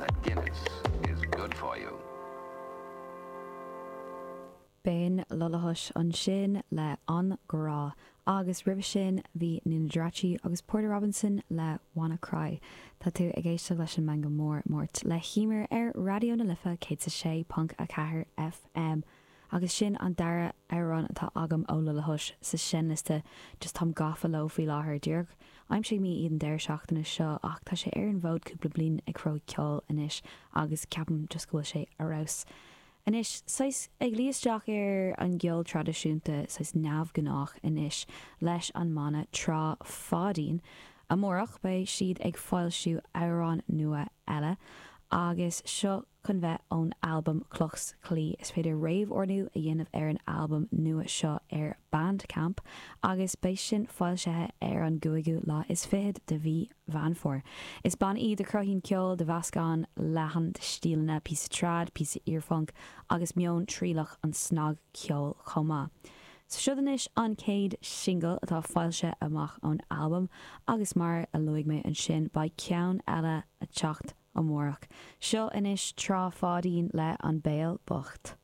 that Guinness is good for you. B'in Lullahush ansin le An Grá agus roimhe sin bhí Nina Geraci agus Porter Robinson le Wanna Cry. Tá tú ag éisteacht leis an Meangadh Mór, Máirt le hEmer ar Raidió na Life 106.4 FM. Agus sin an dara amhrán atá agam ó Lullahush sa seinnliosta, just táim gafa leo faoi láthair, díreach aimsigh mé iad an deireadh seachtaine seo ach tá sé ar an bhfód cúpla bliain ag cruthú ceoil anois agus ceapaim just go bhfuil sé ar fheabhas. Anois, saghas ag luí isteach ar an gceol traidisiúnta saghas neamhghnách anois leis an mbanna Trá Pháidín. Amárach beidh siad ag foilsiú amhrán nua eile agus seo chun bheith ón albam Cloch 's Claí. Is féidir réamh-ordú a dhéanamh ar an albam nua seo ar Bandcamp agus beidh sin foilsithe ar an gcúigiú lá is fichead de mhí Mheán Fómhair. Is banna iad a chruthaíonn ceol de mheascán leathan de stíleanna, píosa trad, píosa iarphunc agus meon trialach an snagcheoil chomh maith. So siod anois an chéad singil atá foilsithe amach ón albam agus mar a luaigh mé ansin beidh ceann eile a teacht amárach. Seo anois Trá Pháidín le An Béal Bocht.